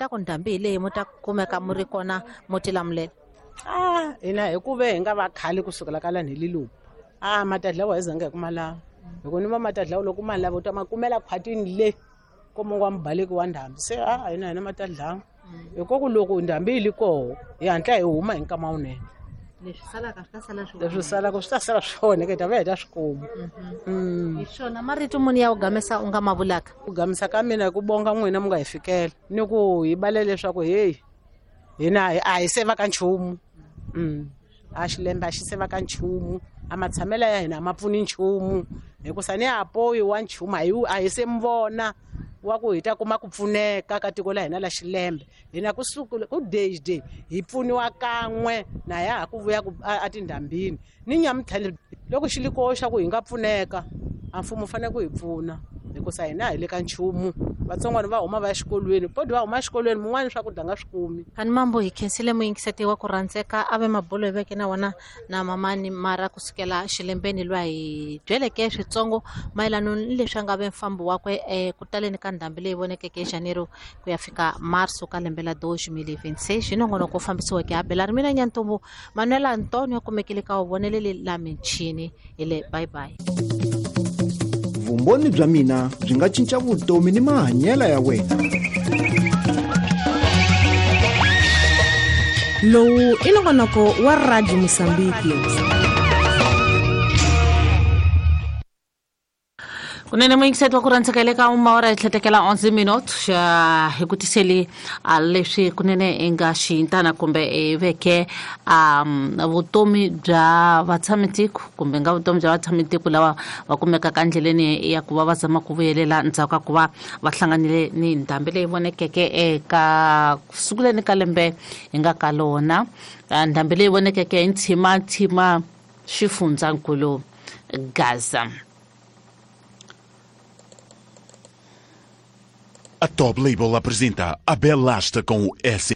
ta ku ndhambi hi leyi mu ta kumeka mu ri kona mu tilamulela? A hina hi ku ve hi nga va khale kusukela ka lani hi lilupu, a matadlawa hi zanga hi ku ma lava, hi ku ni va matadlawa loko ma lava u ta ma kumela khwatini le komongo wa mubaleki wa ndhambi. Se a hina hina matadlawa hi ku loko ndhambi yi li koho hi hatla hi huma hi nkama wunene. Leswi salaka swi ta sala swi Leswi salaka swi ta sala swi onheka, hi ta vuya hi ta swi kuma. Hi swona marito muni ya ku gamisa u nga ma vulaka? Ku gamisa ka mina hi ku bonga n'wina mu nga hi fikela ni ku hi bale leswaku heyi hina a hi se va ka nchumu. A xilembe a xi se va ka nchumu, a matshamelo ya hina a ma pfuni nchumu, hikusa ni ha poyi wa nchumu a hi se mi vona wa ku hi ta kuma ku pfuneka ka tiko la hina la xilembe. Hina kusuka ku day day hi pfuniwa kan'we na ya ha ku vuya ku a tindhambini ni nyamutlha loko xi li koho xa ku hi nga pfuneka, a mfumo wu fanele ku hi pfuna, hikusa hina hi le ka nchumu. Vatsongwana va huma va ya xikolweni, podi va huma exikolweni mun'wani swakudya nga swi kumi. Kani mambo hi khensile muyingiseti wa ku rhandzeka a ve mabulo hi veke na wona na mamani mara kusukela xilembeni lwa hi byeleke switsongo mayelana ni leswi a nga ve mfambo wakwe ku taleni ka ndhambi leyi vonekeke hi Janeiro ku ya fika Marso ka lembe la 2026. Hi nongonoko wu fambisiweke Abelari mina Nyantombo Manuel Antonio kumekile ka vuvoneleli la michini. Hi le bye bye. Vumbhoni bya mina byi nga cinca vutomi ni mahanyelo ya wena. Lowu i nongonoko wa Radio Mosambiki. Kunene muyingiseti wa ku rhandzeka le ka umawara hi tlhetekela 11 minute xa hi ku tiseli a leswi kunene i nga xiyintana kumbe i veke vutomi bya vatshamitiko kumbe nga vutomi bya vatshamitiko lava va kumekaka endleleni ya ku va va zama ku vuyelela ndzhaku ka ku va va hlanganile ni ndhambi leyi vonekeke eka sunguleni ka lembe hi nga ka lona. Ndhambi leyi vonekeke hi ntshimanthima xifundzankulu Gaza. A Top Label apresenta a Belasta com o S.